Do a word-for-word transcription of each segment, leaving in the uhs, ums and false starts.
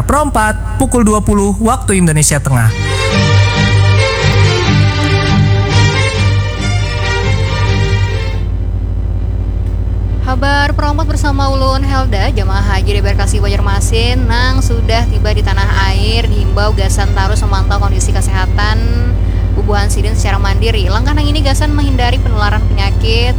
Pro empat, pukul dua puluh waktu Indonesia Tengah. Habar Pro empat bersama ulun Helda. Jamaah haji di embarkasi Banjarmasin nang sudah tiba di tanah air diimbau gasan tarus memantau kondisi kesehatan bubuhan sidin secara mandiri. Langkah nang ini gasan menghindari penularan penyakit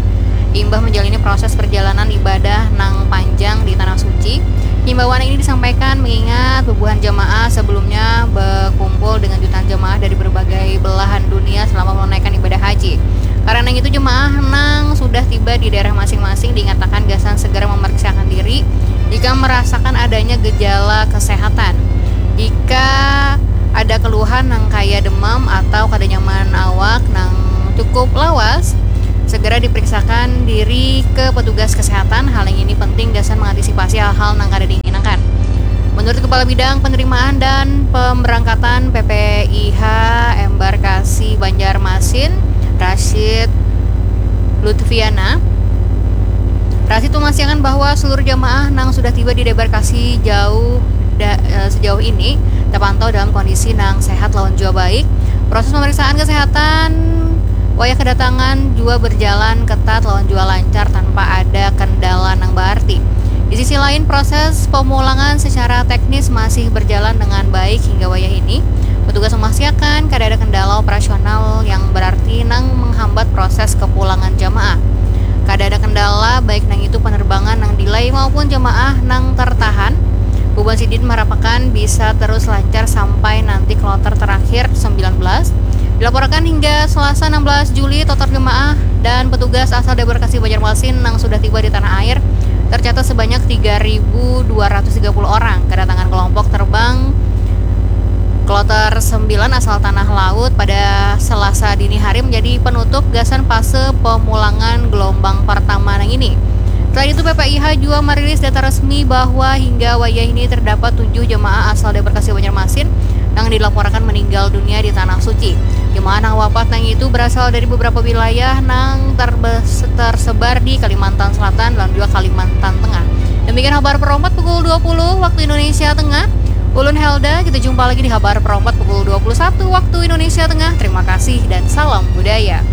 imbah menjalani proses perjalanan ibadah nang panjang di tanah suci. Himbauan ini disampaikan mengingat bubuhan jamaah sebelumnya berkumpul dengan jutaan jamaah dari berbagai belahan dunia selama menunaikan ibadah haji. Karena itu, jemaah nang sudah tiba di daerah masing-masing diingatkan gasan segera memeriksakan diri jika merasakan adanya gejala kesehatan. Jika ada keluhan nang kaya demam atau kada nyaman awak nang cukup lawas, segera diperiksakan diri ke petugas kesehatan. Hal yang ini penting gasan mengantisipasi hal-hal nang kada diinginkan. Menurut Kepala Bidang Penerimaan dan Pemberangkatan P P I H Embarkasi Banjarmasin, Rashid Lutfiana, Rashid memastikan bahwa seluruh jamaah nang sudah tiba di debarkasi jauh da, eh, sejauh ini terpantau dalam kondisi nang sehat lawan jua baik. Proses pemeriksaan kesehatan wayah kedatangan jua berjalan ketat lawan jua lancar tanpa ada kendala nang berarti. Di sisi lain, proses pemulangan secara teknis masih berjalan dengan baik hingga wayah ini. Petugas memastikan kada ada kendala operasional yang berarti nang menghambat proses kepulangan jamaah. Kada ada kendala baik nang itu penerbangan nang delay maupun jamaah nang tertahan. Bubuhan sidin marapakan bisa terus lancar sampai nanti kloter terakhir sembilan belas. Dilaporkan hingga Selasa enam belas Juli, total jemaah dan petugas asal debarkasi Banjarmasin nang sudah tiba di tanah air tercatat sebanyak tiga ribu dua ratus tiga puluh orang. Kedatangan kelompok terbang kloter sembilan asal Tanah Laut pada Selasa dini hari menjadi penutup gasan fase pemulangan gelombang pertama nang ini. Selain itu, P P I H jua merilis data resmi bahwa hingga wayah ini terdapat tujuh jemaah asal debarkasi Banjarmasin nang dilaporkan meninggal dunia di Tanah Suci. Jemaah nang wafat nang itu berasal dari beberapa wilayah nang terbes- tersebar di Kalimantan Selatan dan juga Kalimantan Tengah. Demikian habar Pro empat pukul dua puluh waktu Indonesia Tengah. Ulun Helda, kita jumpa lagi di habar Pro empat pukul dua puluh satu waktu Indonesia Tengah. Terima kasih dan salam budaya.